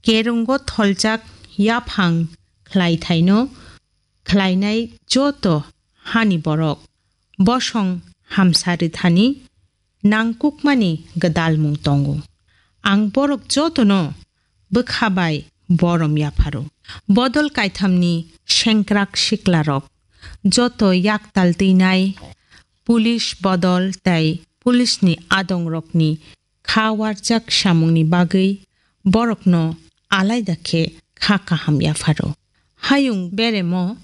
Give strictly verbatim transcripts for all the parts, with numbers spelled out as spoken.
kerungo tholjak yaphang khlaithaino khlainai joto hani borok bosong hamsa rwthani nangkukmani gwdalmung tongo. Ang borok jotono bwkha bai borom yapharo. Bodol kaithamni sengkrak siklarok joto yaktal twinai, police bodol tei police ni adongrokni kha warjak samungni bagwi borokno alaida khe kha kaham yapharo. Hayung beremo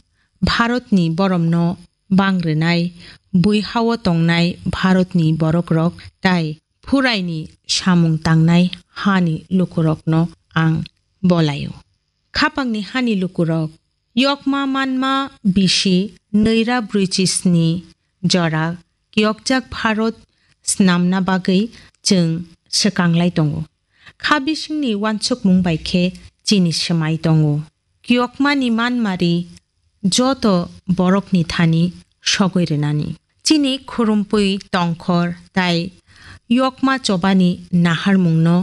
Bharatni boromno bang rwnai, bui hao tongnai Bharatni borokrok tai phuraini samung tangnai hani lukurokno ang bolaio. Khapangni hani lukurok, yokma manma bisi nwi ra brwi chi sni jora kiyokjak Bharat snamna bagwi chwng swkanglai tongo. Kha bisingni wansukmung bai khe chini swmai tongo. Kiyokmani manmari joto borokni thani sogwi rwnani. Chini khurumpui tongkhor tai yokma chobani naharmungno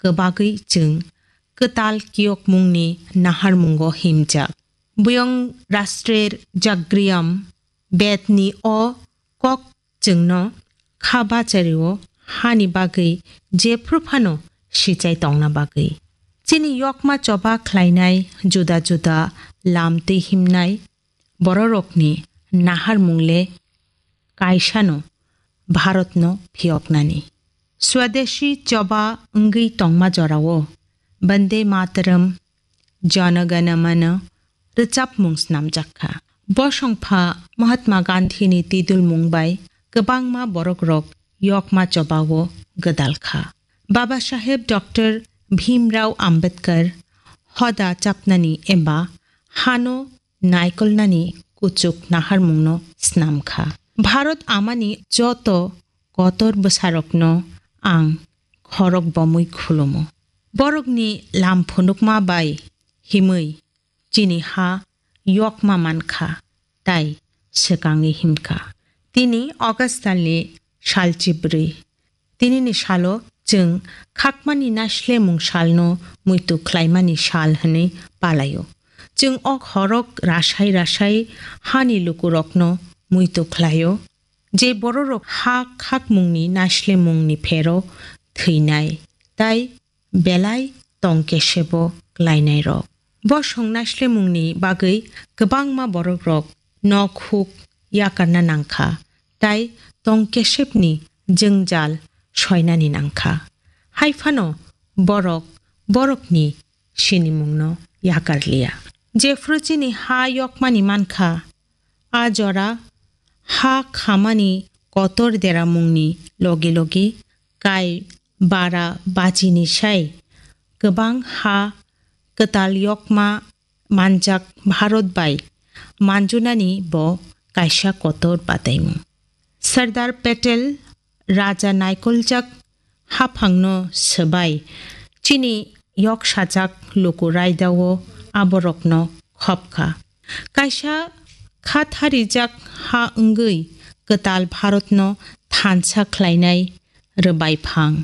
kwbagwi chwng kwtal kiyokmungni naharmungo himjak. Buyong Rastrer Jagriyam Bedni o kok chwngno kha bachario hani bagwi jephru phano sichai tongna bagwi. Chini yokma choba khlainai juda juda lam twi himnai bororokni naharmung le kaisano Bharatno phiyoknani. Swadeshi choba wngwi tongma jorao Bande Mataram, Jana Gana Mana rwchapmung snamjak kha. Bosongpha Mahatma Gandhini tidulmung bai kwbangma borokrok yokma chobao gwdal kha. Baba Saheb Doctor Bhimrao Ambedkar hoda chapnani eba hano naikolnani kuchuk naharmungno snam kha. Bharat amani joto kotor bwsarokno ang khorok bomwi khulumo. Borokni lam phunukma bai himwi chini ha yokma man kha, tai swkangwi him kha. Tini August talni sal chibrwi. Tinini salo chwng khakmani naislemung salno muitu khlaimani sal hwnwi palaio. Chwng o khorok rasai rasai hani lukurokno muitu khlaio, je bororok ha khakmungni naislemungni phero thwinai, tai belai tong kesebo klainairok. Bosong naislemungni bagwi kwbangma borokrok nok huk yakarna nangkha, tai tong kesepni jwngjal soinani nangkha. Haiphano borok borokni sinimungno yakarliya. Jephru chini ha yokmani mankha, a jora ha khamani kotor deramungni logi logi kai bara bachini sai kwbang ha kwtal yokma manjak Bharat bai manjunani bo kaisa kotor bataimung. Sardar Patel raja naikoljak haphangno swbai chini yoksajak luku raidao aborokno khopkha. Kaisa khatharijak ha wngwi kwtal Bharatno thansa khlainai rwbai phang.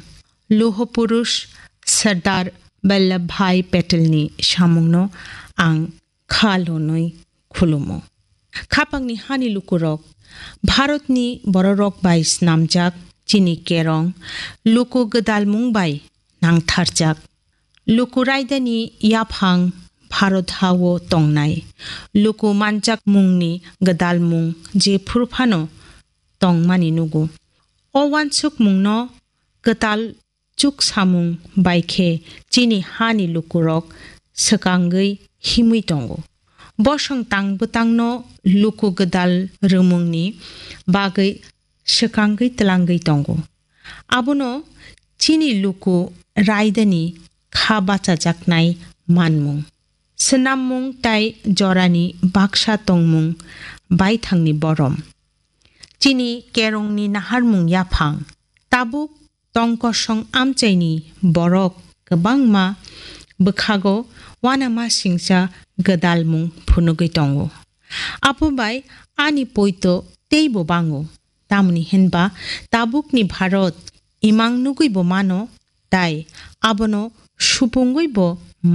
Luho purush Sardar Vallabhbhai Patelni samungno ang kha lonwi khulumo. Khapangni hani lukurok, Bharatni bororok bai snamjak chini kerong, luku gwdalmung bai nangtharjak. Luku raidani yaphang Bharat hao tongnai, luku manjakmungni gwdalmung jephru phano tongmani nugo. O wansukmungno kwtal chuksamung bai khe chini hani lukurok swkangwi himwi tongo. Bosong tang bwtangno luku gwdal rwmungni bagwi swkangwi twlangwi tongo. Abono chini luku raidani kha bachajaknai manmung. Swnammung tai jorani baksa tongmung baithangni borom. Chini kerongni naharmung yaphang. Tabuk tongkosong amchaini borok kwbangma bwkhago uanama singcha gwdalmung phunugwi tongo. Abo bai ani poito teibo bango, tamoni hinba tabukni Bharat imang nugwibo mano, tai abono supungwibo